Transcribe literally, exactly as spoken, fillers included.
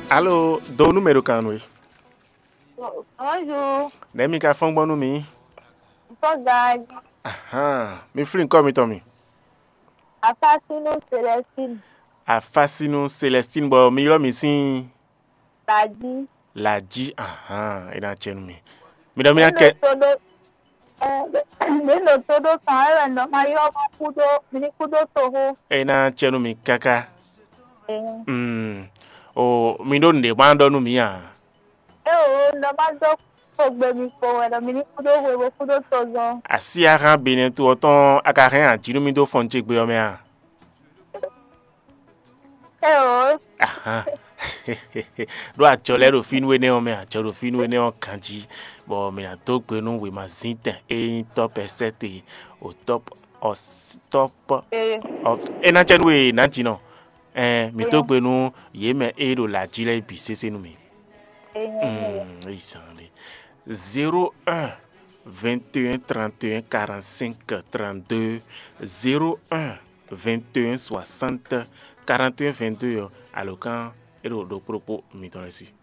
Alo, do nú mɛ ɖo kan nú we. Bonjour. Nɛ̌ mi ka fɔ́n gbɔn nú mì? Fɔ́n gǎn. Ahan, mi flín kɔ́ mitɔn mi. Afásínú Célestine. Afásínú Célestine, bɔ mi ylɔ́ mi sín Lají. Lají, ahan, é ná cɛ nú mi. Mi ɖɔ mi ná kɛ. Mǐ ɖo tó ɖó kan wɛ nɔ ma ylɔ́ mɔ kúdó mi ní kúdó toxó. É ná cɛ nú mi káká. Mm. O, mi ɖó nǔɖé ma ɖɔ nú mǐ a? É o, nɔ ma dó xogbe mi kpo wɛ ɖɔ mi ní kúdó hwe bó kúdó tozɔn. Así axán Benɛ́ to ɔ́ tɔn a ka hɛn ají nú mì dó fɔn ce gbe ɔ́ mɛ a? É o. Ahan. Ɖó acɔ lɛ́ɛ ɖo fínú énɛ́ ɔ́ mɛ, acɔ ɖo fínú énɛ́ ɔ́ ganjí, bɔ mǐ ná dó gbe nú wěmazíntɛn e nyí tɔ́ pɛsɛ́te o tɔ́p ɔ tɔ́p ɔ é ná cɛ nú we nǎjínɔ. Ɛn mǐ dó gbe nú yě mɛ e ɖo lǎjí lɛ́ɛ bǐ sésé nú mì. Mm, yi zán ɖé. Zéro un, vingt et un, trente et un, quarante-cinq, trente-deux, zéro un, vingt et un, soixante, quarante et un, vingt-deux ɔ́, alǒkan é ɖo ɖokpó ɖokpó mitɔn lɛ́ɛ sí.